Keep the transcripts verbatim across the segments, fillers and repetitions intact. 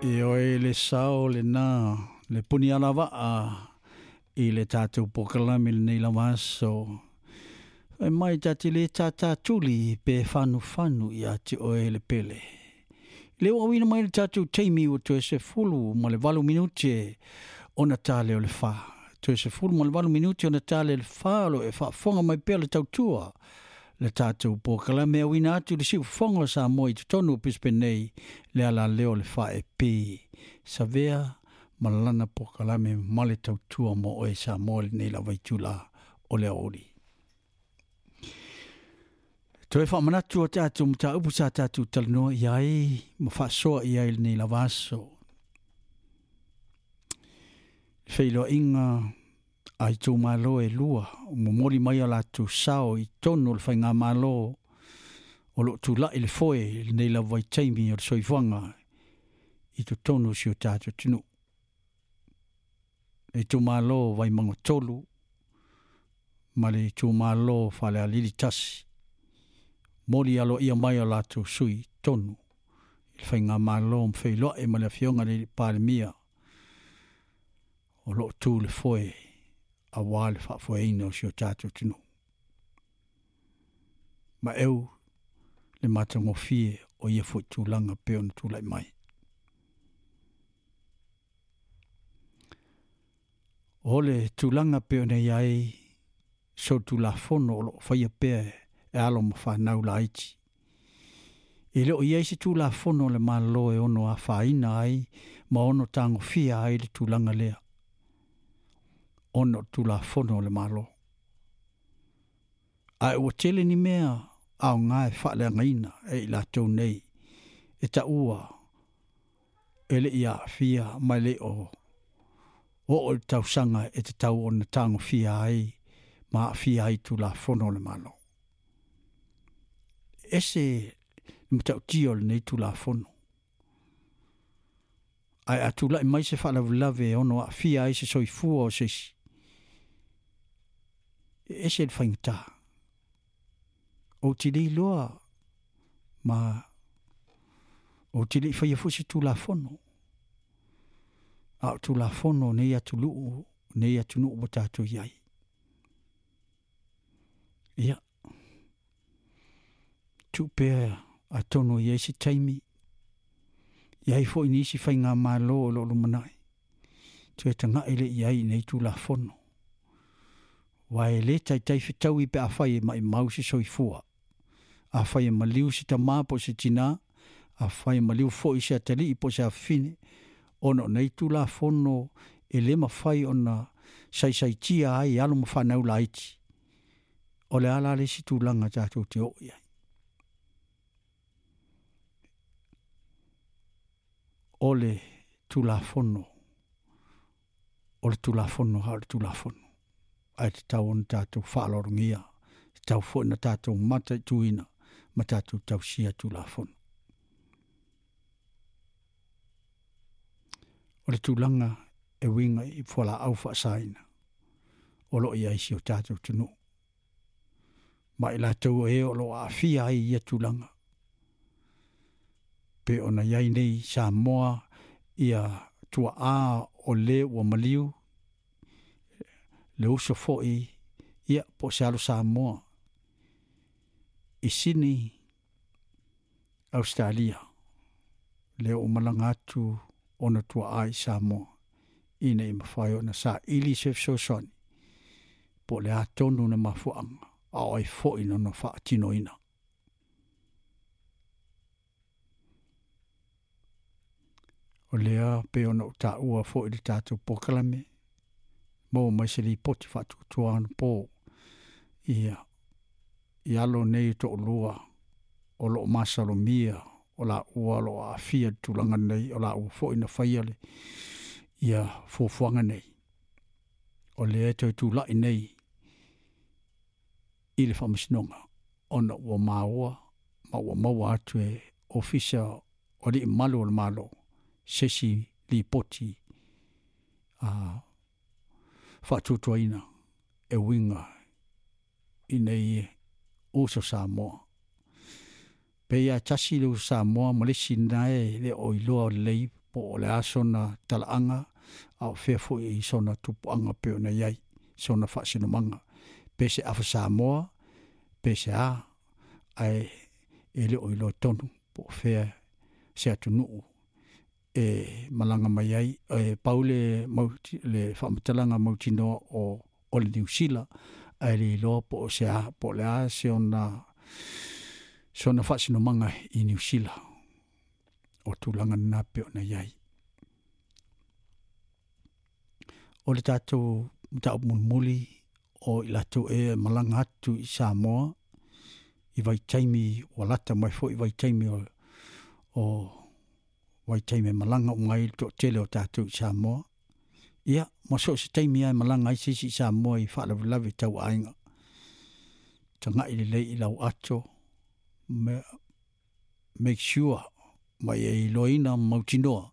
E oe le sao le nā le puni alavaa i le tātou pokalame lenei lava aso. E mai tati le tātā tuli pe whanu whanu i ati oe le pele. Le uawina mai le tātou teimi o toe se fulu ma le valu minute ona tāle o le wha. Toe se fulu ma le valu minute ona tāle le wha lo e whaafonga mai pea le tautua. Le tātou pokalame awina atu le siu fonga sa moi te tonu Brisbane nei le ala leo le wha e pi. Savea malana pokalame ma le tautua mo oe sa mo le nei la vaitula o le aoli. Toe whaamanatu o tātou mta upu sa tātou talanoa i ai, ma whaasoa i ai le nei lava aso. Wheiloa inga ai tō malo e lua, o momoli mai a lātou sao i tonu o le whainga malo o lo tūlai le foe le nei lava i taimi o le soifuanga i tō tonu si o tātou tunu. E tō malo vai mango tolu, ma le tō malo whale alili tasi. Moli alo ia mai o lātou sui tonu. I le whainga malo mwheiloa e ma le afionga le palemia o lo tū le foe a wā le whaafoeina o si o tātou tunu. Ma eu le matangofie o ia fo tūlanga pe ona tūlai mai. O le tūlanga pe ona iai so tūlafono o lo whaia pea e alo ma whanau laiti. E leo iai se tūlafono le malo e ono a whaina ai ma ono tangofia ai le tūlanga lea. Ono tūlafono le malo. A e ua tele ni mea au ngā e whaaleangaina e i lātou nei e ta ua e le ia fia mai le o o o le tausanga e te tau ona tangofia ai ma fia ai tūlafono le malo. Ese le matautia o lenei tūlafono. Ai a tūlai mai se whaalavulave e ono a fia ai se soifua o sesi. Ese le whaingatā. O te lei loa ma o te lei whaia fusi tūlafono. A o tūlafono nei atu luu, nei atu nuu o tātou iai. Ia. Tupea a tono i eisi taimi. Iai fo i nisi whai ngā malo o lo lumanai. Tue tanga ele iai nei tūlafono. Wai le tai tai whitau i pe a whai e mai mau se soifua. A whai e maliu se tamā po se tina. A whai e maliu fo i se atali i po se awhine. Ono nei tūlafono e le mawhai ona saisaitia ai alo mawhanau laiti. O le ala le si tūlanga tātou te o iai. O le tūlafono, o le tūlafono ha o le tūlafono. Ai te tau ona tātou whaalorongia, te tau fo na tātou mata i tuina, ma tātou tausia tūlafono. O le tūlanga e winga i whala au whaasaina, o lo ia isi o tātou tunu. Ma i lātou e o lo aafia ai ia tūlanga. Pe ona iai nei Samoa ia tua a o le ua maliu le uso foi ia po se alo Samoa i Sydney, Australia le o malanga atu ona tua a i Samoa ina i mawhai ona sa ili se fesoasoani po le atonu na mafuanga a oi foi no no whaatinoina. O lea pe ona o tā ua fo i le tātou pokalame, mō mai se li poti whaatutua anu pō, ia, i alo nei tō lua, o lo masalomia, o la ua lo aafia tūlanga nei, o la ua fo ina whaiale, ia fuafuaga nei. O lea toe tūlai nei, i le whaamasinoga, ona ua maua, ma ua maua atu e ofisa o li malu o le malo, sesi lipoti a whaatutuaina e winga i nei uso Samoa. Pe ia tasi le uso Samoa ma lesi nae le o iloa o lei Po o le a sona talaaga a o fea foʻi sona tupuaga pei ona i ai sona faasinomaga pe se afa Samoa pe se a ae e le o iloa tonu po o fea se atunuu e malaga mai ai e pau le le faamatalaga mautinoa o o le Niusila ae le iloa po o se a po o le a se ona sona faasinomaga i Niusila o tulaga lena pei ona i ai. O le tatou mataupu mulimuli o i latou e malaga atu i Samoa i vaitaimi ua lata mai foi vaitaimi o o vaitaimi e malaga uma ai le toatele o tatou i Samoa. Ia ma so o se taimi lava e malaga ai se isi i Samoa i faalavelave tau aiga. Tagai lelei i lau ato make sure ma ia iloaina mautinoa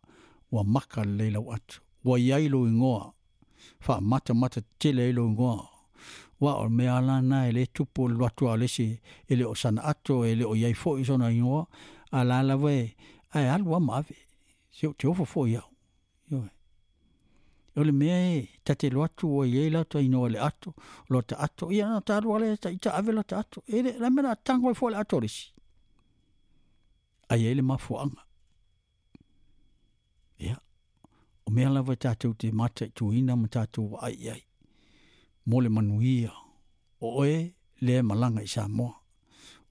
ua maka lelei lau ato. Ua i ai lou igoa faamatamata tetele ai lou igoa aua o le mea lava lena e lē tupu o le alu atu lava o le isi e le o sana ato e le o i ai foi sona igoa a o la lava e ae alu lava ma ave. Se ou te ofo foi au, ioe. O le mea e ta te alu atu ua i ai lata igoa i le ato, lota ato, ia ona ta alu lava lea ita ave lota ato. E le, o le a le mea o le a tago ai fua i le ato o le isi? Ae i ai le mafuaaga. Ia, o mea lava e tatou te mataituina ma tatou vaai i ai mo le manuia o oe lea e malaga i Samoa.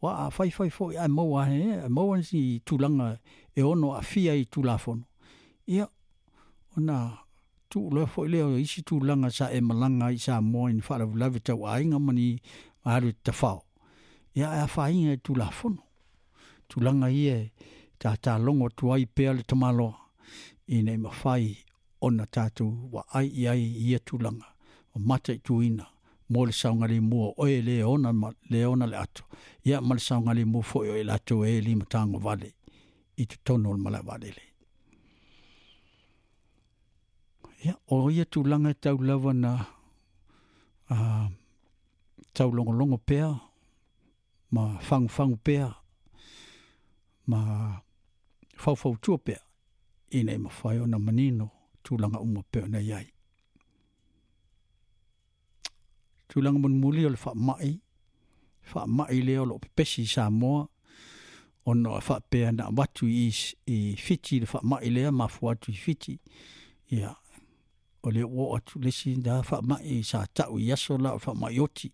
Aua a faifai foi ae maua ae maua nisi tulaga e ono aafia ai i Tulafono, ia, ona tuu loa foi lea o isi tulaga sa e malaga ai i Samoa i ni faalavelave tau aiga ma ni alu e tafao, ia ae afaina i Tulafono. Tulaga ia e tatalogo atu ai pea le tamaloa ina ia mafai ona tatou vaai i ai i ia tulaga ma mataituina mo le saogalemu o oe lē ona lē ona le ato ia ma le saogalemu foi o i latou e limatagovale i totonu o le malae vaalele. Ia o ia tulaga e tau lava na a taulogologo pea ma fagufagu pea ma faufautua pea ina ia mafai ona manino tulaga uma pei ona i ai. Tulaga mulimuli o le faamai, faamai lea o loo pepesi i Samoa ona e faapea na avatu i i Fiti le faamai lea mafua atu i Fiti. Ia o lea ua oo atu le isi la faamai sa tau i aso la o le faamai oti.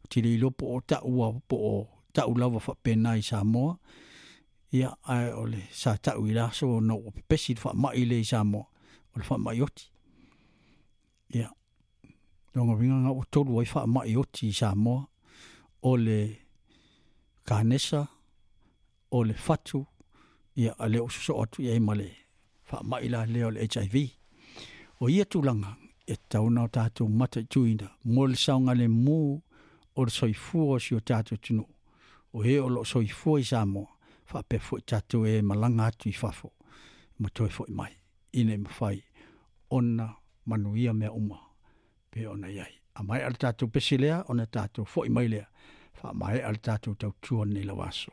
Ou te le iloa po o taua po o tau lava faapena i Samoa. Ia ae o le sa tau i le aso ona ua pepesi le faamai lea i Samoa o le faamai oti. Ia lona uiga lena ua tolu ai faamai oti i Samoa o le kanesa, o le fatu, ia a o lea ua sosoo atu i ai ma le faamai la lea o le H I V. O ia tulaga e tatau ona tatou mataituina mo le saogalemu o le soifua o si o tatou atunuu o e o loo soifua i Samoa faapea foi tatou e malaga atu i fafo ma toe foi mai ina ia mafai ona manuia mea uma pei ona i ai. A maea le tatou pese lea ona tatou foi mai lea faamaea le tatou tautua i lenei lava aso.